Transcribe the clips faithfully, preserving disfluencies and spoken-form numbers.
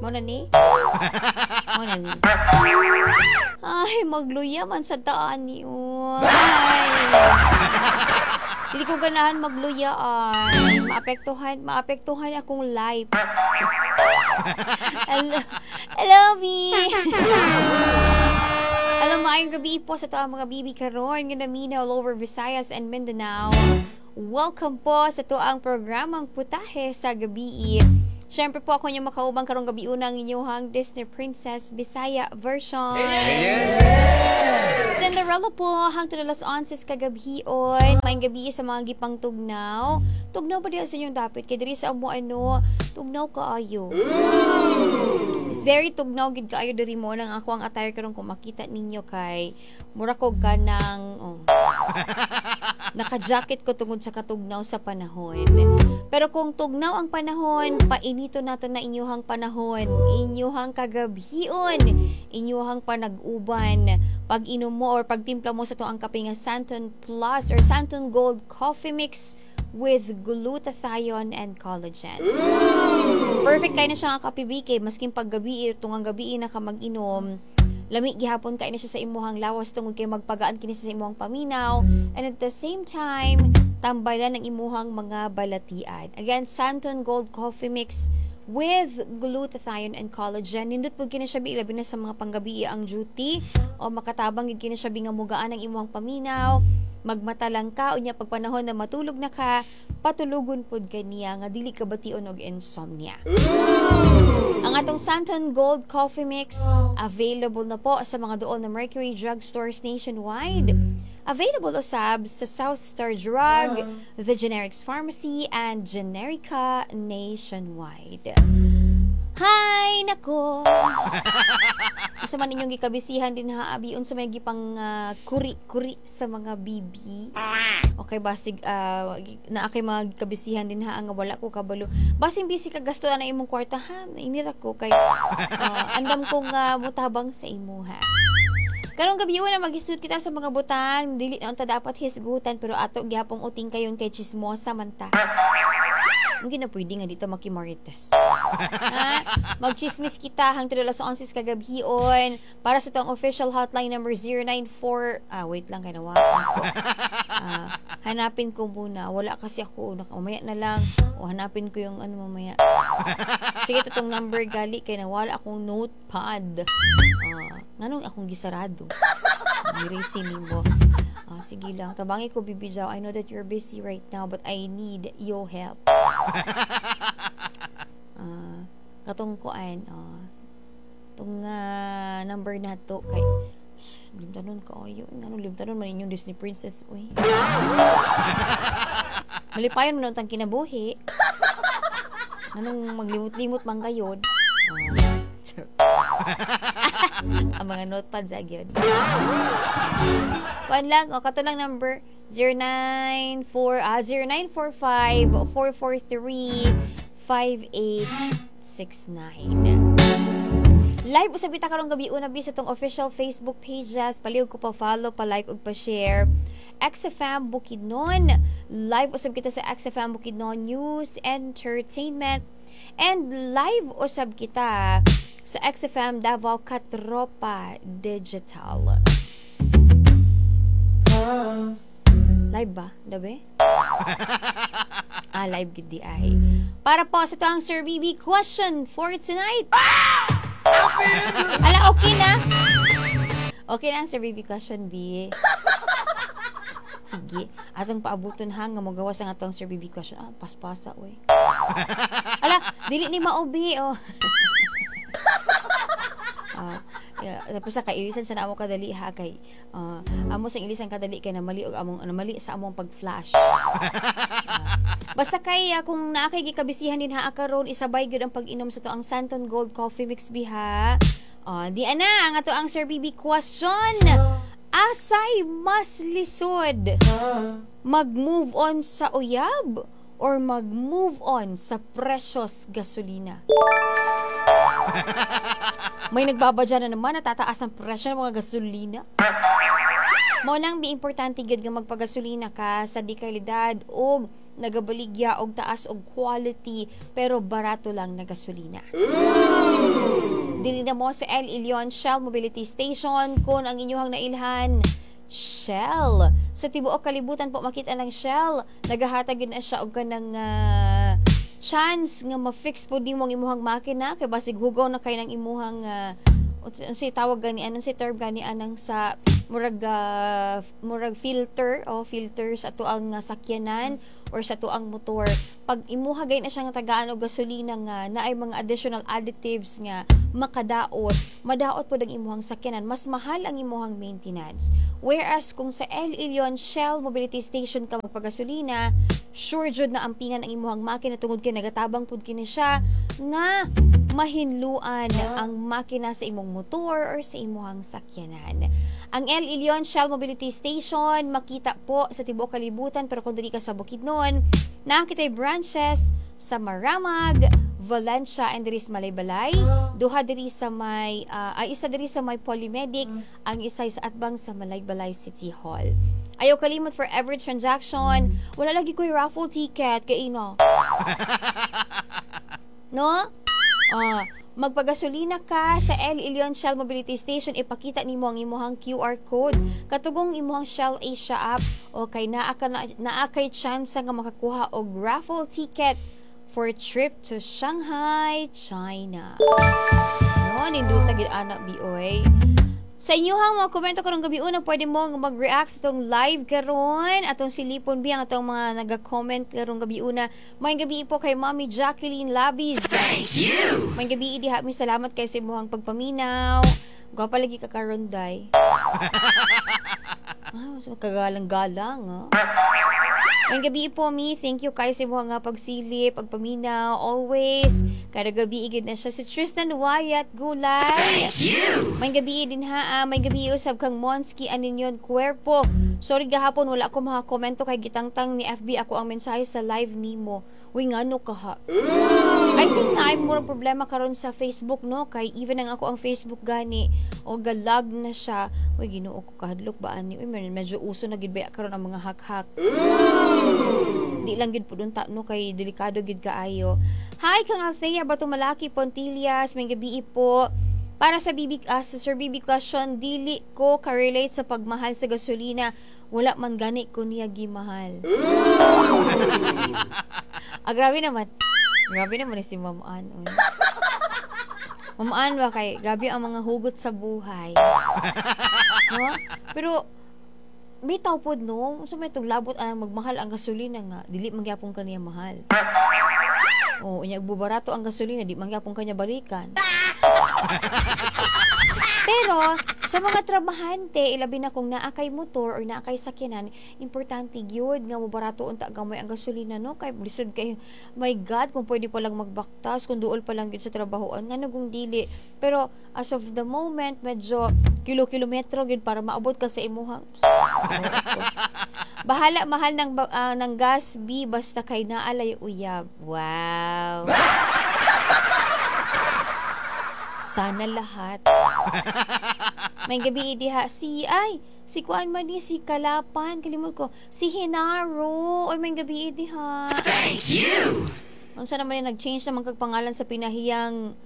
Mo na ni? Mo na ni. Ay, magluya man sa taan ni. Ay. Hindi ko ganahan magluya ay. Maapektuhan, maapektuhan akong life. Hello, hello, V. Alam mo, maayong gabi po sa atoang mga bibi karon nga namina all over Visayas and Mindanao. Welcome po sa atoang programang Putahe sa Gabi. Siyempre po ako niyo makaubang karong gabi unang inyong Disney Princess Bisaya version. Cinderella po hangtod alas onse kagabhion. Maayong gabi sa mga gipang tugnaw. Tugnaw ba diha sa inyong dapit? Kay diri sa amo ano, tugnaw kaayo. It's very tugnaw gid kaayo diri mo nang ako ang attire karon kung makita ninyo kay mura ko ganang oh, naka-jacket ko tungod sa katugnaw sa panahon. Pero kung tugnaw ang panahon, painito nato na inyuhang panahon, inyuhang kagabhion, inyuhang panag-uban. Pag inom mo or pagtimpla mo sa atoang kape nga Santon Plus or Santon Gold Coffee Mix with glutathione and collagen. Perfect kay na siya nga kape kay maskin paggabi tungang gabi na ka mag-inom, lami gihapon kay na siya sa imuhang lawas tungod kay magpagaan kini sa imuhang paminaw and at the same time tambalan ang imuhang mga balatian. Again, Santon Gold Coffee Mix with glutathione and collagen. Nindot pud kini siya bi labi na sa mga panggabi ang duty o makatabang gid kini siya bi nga mugaan ang imuhang paminaw magmata lang ka unya pag panahon na matulog na ka patulugon pud kaniya nga dili ka bation og insomnia. Ang atong Santon Gold Coffee Mix available na po sa mga doon na Mercury Drug Stores nationwide. Available usab sa South Star Drug, The Generics Pharmacy, and Generica nationwide. Hay nako. Isa man inyong gikabisihan din ha abi unsa may gipang ah, kuri-kuri sa mga bibi. Okay basig uh, naa kay mga gikabisihan din ha nga wala ko kabalo. Basing busy ka gasto na imong kwarta ha. Inira ko kay ah, andam ko nga mutabang sa imo ha. Karong gabi na maghisgot kita sa mga butang, dili na unta dapat hisgutan pero ato gihapong uting kayon kay chismosa man ta. Hindi na pwede nga dito makimarites. Ha? Magchismis kita hangtod alas onse kagabhion para sa atong official hotline number zero nine four. Ah, wait lang kay nawa ako. Ah, hanapin ko muna. Wala kasi ako. Naka, mamaya na lang. O hanapin ko yung ano mamaya. Sige, itong number gali kay nawala akong notepad. Ah, nganong akong gisarado. Mirisi nimo. Ah, sige lang. Tabangi ko, Bibi Jaw. I know that you're busy right now, but I need your help. Ah, katong kuan, ah, tong ah, number na to kay limtanon kaayo. Ngano limtanon man inyong Disney Princess, uy. Malipayon man ang kinabuhi. Nganong maglimot-limot man kayon? Ah, charot. Ang mga notepad sa gyud. Kuan lang, o kato lang number zero nine four ah zero nine four five four four three five eight six nine. Live usab kita karong gabi una bi sa atong official Facebook pages. Palihog ko pa follow, pa like ug pa share. X F M Bukidnon. Live usab kita sa X F M Bukidnon News Entertainment. And live usab kita sa X F M Davao Katropa Digital. Live ba? Dabe? Ah, live gid di ay. Para po sa atoang Sir B B question for tonight. Ala, okay na. Okay na ang Sir B B question, B. Sige. Atong paabuton ha, nga magawas ang atong Sir B B question. Ah, paspasa, uy. Ala, dili ni maubi, oh. Ah, yeah, tapos sa kailisan sa namo kadali ha kay ah, amo sa ilisan kadali kay namali og among namali sa among pag-flash. Ah, basta kay ah, kung naa kay gikabisihan din ha karon isabay gyud ang pag-inom sa atoang Santon Gold Coffee Mix biha. Ah, di ana ang ato ang Sir B B question. Asay mas lisod? Mag-move on sa uyab or mag-move on sa presyos gasolina? May nagbabadya na naman na tataas ang presyo ng mga gasolina. Mao nang bi importante gyud nga magpagasolina ka sa di kalidad og Nagabaligya og taas og quality pero barato lang na gasolina. Dili na mo sa El Ilion Shell Mobility Station kung ang inyong nailhan Shell. Sa tibuok kalibutan po makita ng Shell, nagahatag gyud na siya og kanang ah, chance nga ma-fix po nimo ang imuhang makina kay basig hugaw na kay ng imuhang uh, unsay tawag gani, anong say term gani anang sa murag ah, murag filter o filter sa atuang uh, sakyanan or sa atuang motor. Pag imuha gay na siya nga tagaan og gasolina nga naay mga additional additives nga makadaot, madaot pod ang imuhang sakyanan, mas mahal ang imuhang maintenance. Whereas kung sa El Ilion Shell Mobility Station ka magpagasolina, sure jud na ampingan ang imuhang makina tungod kay nagatabang pud kini siya nga mahinluan ang makina sa imong motor or sa imuhang sakyanan. Ang El Ilion Shell Mobility Station makita po sa tibuok kalibutan, pero kung diri ka sa Bukidnon, naa kitay branches sa Maramag, Valencia and diri sa Malaybalay, duha diri sa may ah, ay isa diri sa may Polymedic, ang isa sa atbang sa Malaybalay City Hall. Ayaw kalimot, for every transaction, wala lagi ko'y raffle ticket kay ino. No? Ah, magpagasolina ka sa El Ilion Shell Mobility Station, ipakita nimo ang imuhang Q R code. Katugong imuhang Shell Asia app o kay naa ka na, naa kay chance nga makakuha og raffle ticket for trip to Shanghai, China. No, nindota gid ana bioy. Sa inyuhang mga komento karong gabi una, pwede mo nga mag-react sa itong live karon. Atong silipon bi ang atong mga naga-comment karong gabi una. Maayong gabi po kay Mommy Jacqueline Labis. Thank you. Maayong gabi diha mi, salamat kay sa imuhang pagpaminaw. Gwapa lagi ka karon, day. Ah, mas kagalang-galang, ah. Maayong gabi po mi, thank you kay sa imuhang nga pagsilip, pagpaminaw, always. Kada gabi gid na siya si Tristan Wyatt Gulay. Thank you. Maayong gabi din ha, ah, maayong gabi usab kang Monski Aninyon Cuerpo. Sorry gahapon wala ko makakomento kay gitangtang ni F B ako ang mensahe sa live nimo. Uy, ngano ka ha? I think na ay murag problema karon sa Facebook, no, kay even ang ako ang Facebook gani o galag na siya. Uy, Ginoo ko, kahadlok ba ani? Uy, medyo uso na gid ba karon ang mga hack-hack? Di lang gid pud unta, no, kay delikado gid kaayo. Hi kang Althea Bato Malaki Pontillas, maayong gabi po. Para sa B B ah, sa Sir B B question, dili ko ka-relate sa pagmahal sa gasolina. Wala man gani ko niya gimahal. Ah, grabe naman. Grabe naman ni si Ma'am Ann, uy. Ma'am Ann ba kay grabe ang mga hugot sa buhay. No? Pero bitaw pod, no, unsa may itong labot anang magmahal ang gasolina nga dili man gyapon kaniya mahal. Oh, unya bubarato ang gasolina, di man gyapon kanya balikan. Pero sa mga trabahante, ilabi na kung naa kay motor or naa kay sakyanan, importante gyud nga mobarato unta gamay ang gasolina, no, kay lisod kay, my God, kung pwede pa lang magbaktas, kung duol pa lang gyud sa trabahoan, ngano kung dili. Pero as of the moment, medyo kilo-kilometro gyud para maabot ka sa imuhang. Bahala mahal ng ba- ah, ng gas B basta kay naalay uyab. Wow. Sana lahat. Maayong gabi diha si ay si kuan man ni si Kalapan, kalimot ko si Hinaro. Oy, maayong gabi diha. Thank you. Unsa naman yung nag-change naman kag pangalan sa pinahiyang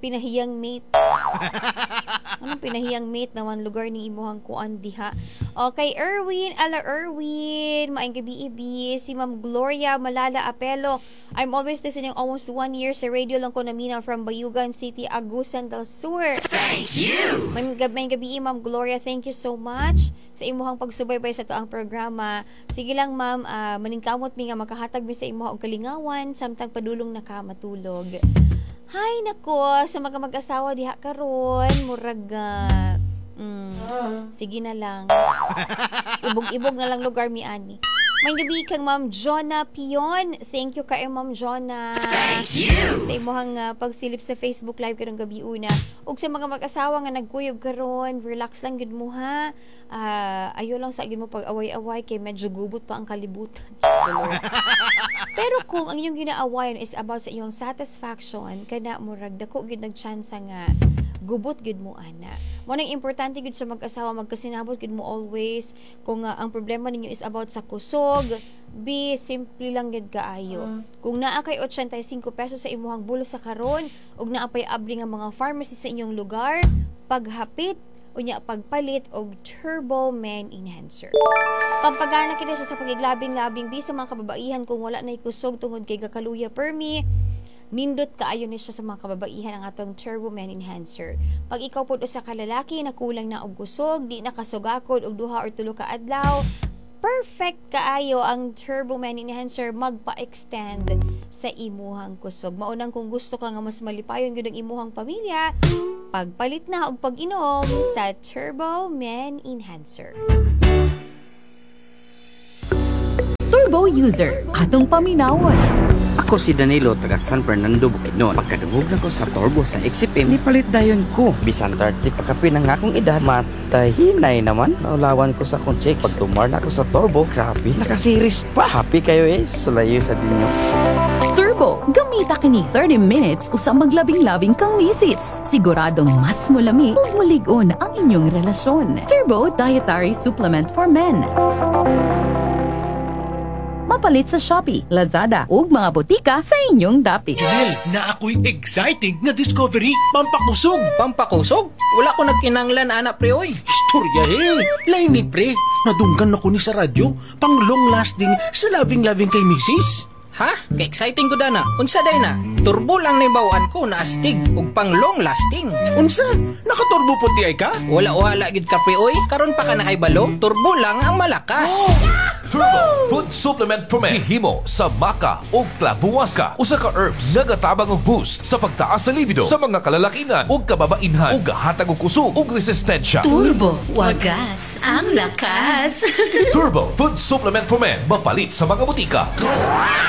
pinahiyang mate? Anong pinahiyang mate naman lugar ni imuhang kuan diha? Okay, Erwin, ala Erwin, maayong gabi ibi. Si Ma'am Gloria Malala Apelo. I'm always listening almost one year, sa radio lang ko namina, from Bayugan City, Agusan del Sur. Thank you. Maayong gabi, maayong gabi, Ma'am Gloria. Thank you so much sa imuhang pagsubaybay sa atoang programa. Sige lang, ma'am, ah, maningkamot mi nga makahatag mi sa imuha og kalingawan samtang padulong na ka matulog. Hay nako, sa mga mag-asawa diha karon, murag ah, mm, sige na lang. Ibog-ibog na lang lugar mi ani. Maayong gabi kang Ma'am Jonah Pion. Thank you kay Ma'am Jonah Thank you. sa imuhang ah, pagsilip sa Facebook Live karong gabi una. Ug sa mga mag-asawa nga nagkuyog karon, relax lang gid mo ha. Ah, ayo lang sa gid mo pag-away-away kay medyo gubot pa ang kalibutan. color. Pero kung ang inyong ginaawayan is about sa inyong satisfaction, kana murag dako gyud nagtsansa nga gubot gyud mo ana. Mo nang importante gyud sa mag-asawa, magkasinabot gyud mo always. Kung uh, ang problema ninyo is about sa kusog, be simple lang gyud kaayo. Kung naa kay eighty-five pesos sa imuhang bulsa karon ug naa pay abri nga mga pharmacy sa inyong lugar, paghapit unya pagpalit og Turbo Man Enhancer. Pampagana kini siya sa pagiglabing-labing bi sa mga kababaihan kung wala na kusog tungod kay gakaluya permi. Nindot kaayo ni siya sa mga kababaihan ang atong Turbo Man Enhancer. Pag ikaw pod usa ka lalaki na kulang na og kusog, di na kasugakod og duha or tulo ka adlaw, perfect kaayo ang Turbo Man Enhancer magpa-extend sa imuhang kusog. Maunang kung gusto ka nga mas malipayon gyud ang imuhang pamilya, pagpalit na og pag-inom sa Turbo Man Enhancer. Turbo user, atong paminawon. Ako si Danilo, taga San Fernando, Bukidnon. Pagkadungog na ko sa Turbo sa X F M, nipalit dayon ko. Bisan thirty pa kapin ang akong edad, matahinay naman. Naulawan ko sa akong chicks. Pag tumar na ako sa Turbo, grabe, nakasiris pa. Happy kayo eh, sulayo sa dinyo. Turbo, gamita kini thirty minutes usa maglabing-labing kang misis. Siguradong mas mulami ug mulig-on ang inyong relasyon. Turbo Dietary Supplement for Men. Mapalit sa Shopee, Lazada ug mga botika sa inyong dapit. Junel, na ako'y exciting nga discovery, pampakusog. Pampakusog? Wala ko nagkinanglan ana, pre, oy. Istorya he, laini, pre. Nadunggan ako ni sa radyo, pang long lasting sa loving-loving kay misis. Ha? Ka-exciting ko dana. Unsa day na? Turbo lang nahibaw-an ko na astig ug pang long lasting. Unsa? Nakaturbo po ti ay ka? Wala uhala gid ka, pre, oy. Karon pa ka nakaibalo? Turbo lang ang malakas. Turbo Food Supplement for Men. Himo sa maca o clavuasca. Usa ka herbs nagatabang og boost sa pagtaas sa libido sa mga kalalakinan ug kababainhan ug gahatag og kusog ug resistensya. Turbo, wagas ang lakas. Turbo Food Supplement for Men. Mapalit sa mga botika.